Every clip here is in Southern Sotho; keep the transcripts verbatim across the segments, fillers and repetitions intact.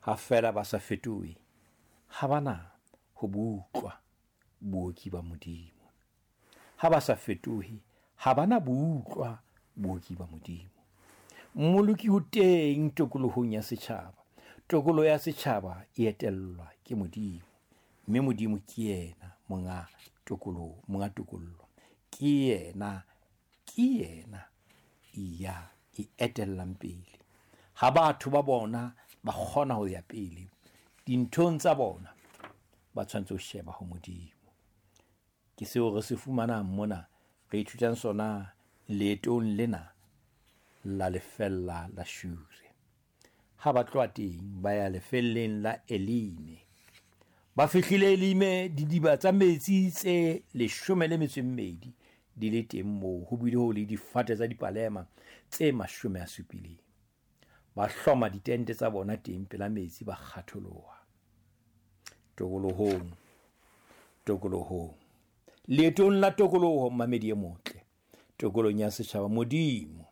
Ha feela ba sa fetohe, ha ba na ho bo utlwa booki ba Modimo. Ha ba sa fetohe, ha ba na bo utlwa booki ba Modimo. Mmoloki o teng tokolohong ya setjhaba. Tokoloho ya setjhaba e etellwa ke Modimo, mme Modimo ke yena monga tokoloho, monga tokollo. Ke yena, ke yena ya e etellang pele. Ha batho ba bona ba kgona ho ya pele dinthong tsa bona, ba tshwanetse ho sheba ho Modimo. Ke seo re se fumanang mona, re ithutang sona leetong lena la lefella la Shure. Ha ba tloha teng ba ya lefelleng la Elime. Ba fihlile Elime, didiba tsa metsi tse leshome le metso e mmedi di le teng moo, ho bile ho le difate tsa dipalema tse mashome a supileng. Ba hloma ditente tsa bona teng pela metsi, ba kgatholoha. Tokolohong, tokolohong, leetong la tokoloho, mmamedi e motle, tokolohong ya setjhaba, Modimo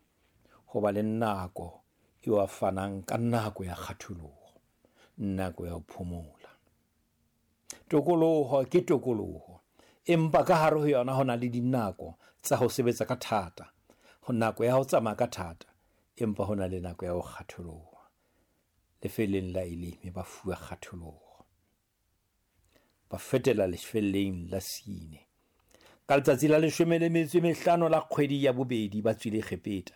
ho ba le nako eo a fanang ka nako ya kgatholoho, nako ya ho phomola. Tokoloho ke tokoloho, empa ka hare ho yona ho na le dinako tsa ho sebetsa ka thata, ho nako ya ho tsamaya ka thata, empa ho na le nako ya ho kgatholoha. Lefelleng la Elime ba fuwa kgatholoho, ba fetela lefelleng la Sine. Ka letsatsi la leshome le metso e mehlano la kgwedi ya bobedi ba tswile Egepeta.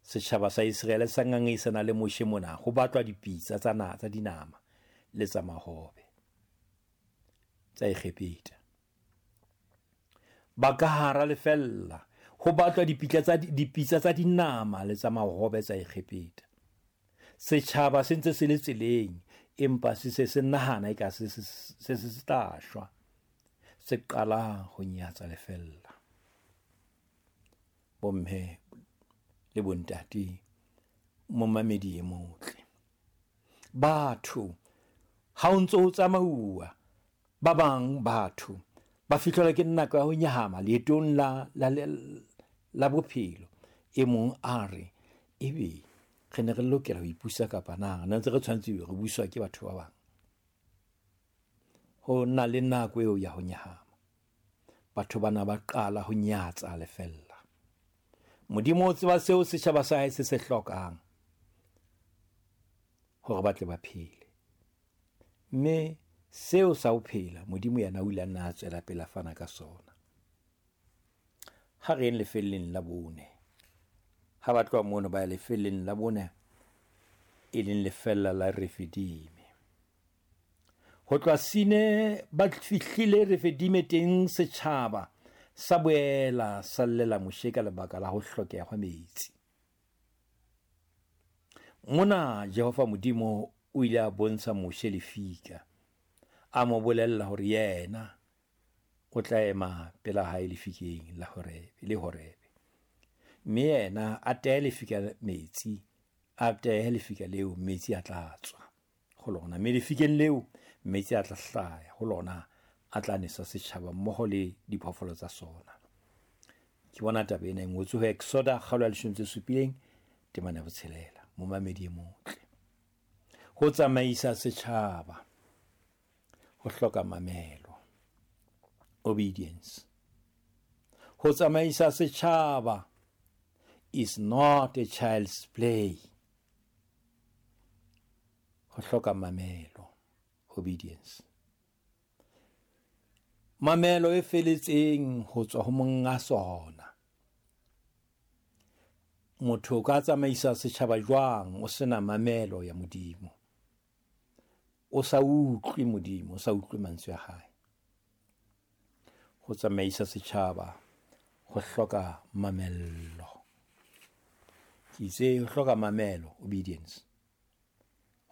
Setjhaba sa Iseraele sa ngangisana le Moshe mona, ho batlwa dipitsa tsa na tsa dinama le tsa mahobe tsa Egepeta. Ba ka hara lefella, ho batlwa dipitsa tsa dipitsa tsa dinama le tsa mahobe tsa Egepeta. Setjhaba se ntse se le tseleng, empa se se se nahana eka se se se se tla shwa. Se qala ho nyatsa lefella. Bomme le bontate, momamedi e motle, batho ha o ntso o tsamauwa, ba bang batho ba fihlelwa ke nako ya ho nyahama leetong la la la bophelo. E mong a re, ebe re ne re lokela ho ipusa kapa na re ntse re tshwanetse re buswa ke batho ba bang? Ho na le nako eo ya ho nyahama. Batho bana ba qala ho nyatsa lefella. Modimo o tseba seo setjhaba sa hae se se hlokang hore ba tle ba phele. Mme seo sa ho phela, Modimo yena o ile a nna a tswela pele a fana ka sona. Ha re yeng lefelleng la bone. Ha ba tloha mono ba ya lefelleng la bone, e leng lefella la Refidime. Ho tloha Sine ba fihlile Refidime, teng setjhaba sa boela sa llela Moshe ka lebaka la ho hlokeha hwa metsi. Mona Jehova Modimo o ile a bontsha Moshe lefika, a mo bolella hore yena o tla ema pela hae lefikeng la Horebe, le Horebe. Mme yena a tehe lefika metsi, a tehe lefika leo, metsi a tla tswa ho lona. Mme lefikeng leo metsi a tla hlaya ho lona, a tla nesa setjhaba mmoho le diphoofolo tsa sona. Ke bona taba ena e ngotswe ho Exoda kgaolo ya leshome tse supileng temana ya botshelela. Momamedi e motle, ho tsamaisa setjhaba ho hloka mamelo, obedience. Ho tsamaisa setjhaba is not a child's play. Ho hloka mamelo, obedience. Mamelo e feletseng ho tswa ho monga sona. Motho o ka tsamaisa setjhaba jwang o sena mamelo ya Modimo? O sa utlwe Modimo, o sa utlwe mantswe a hae. Ho tsamaisa setjhaba ho hloka mamello. Ke itse ho hloka mamelo, obedience.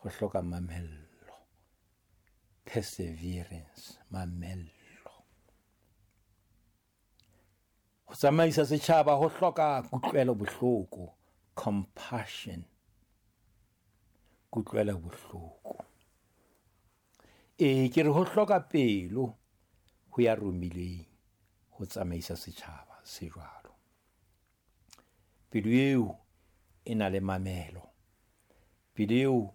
Ho hloka mamello, perseverance, mamello. Ho tsamaisa setjhaba ho hloka kutlwelo bohloko, compassion, kutlwelo bohloko. E ke re ho hloka pelo ho ya romileng ho tsamaisa setjhaba se jwalo. Pelo eo e na le mamelo, pelo eo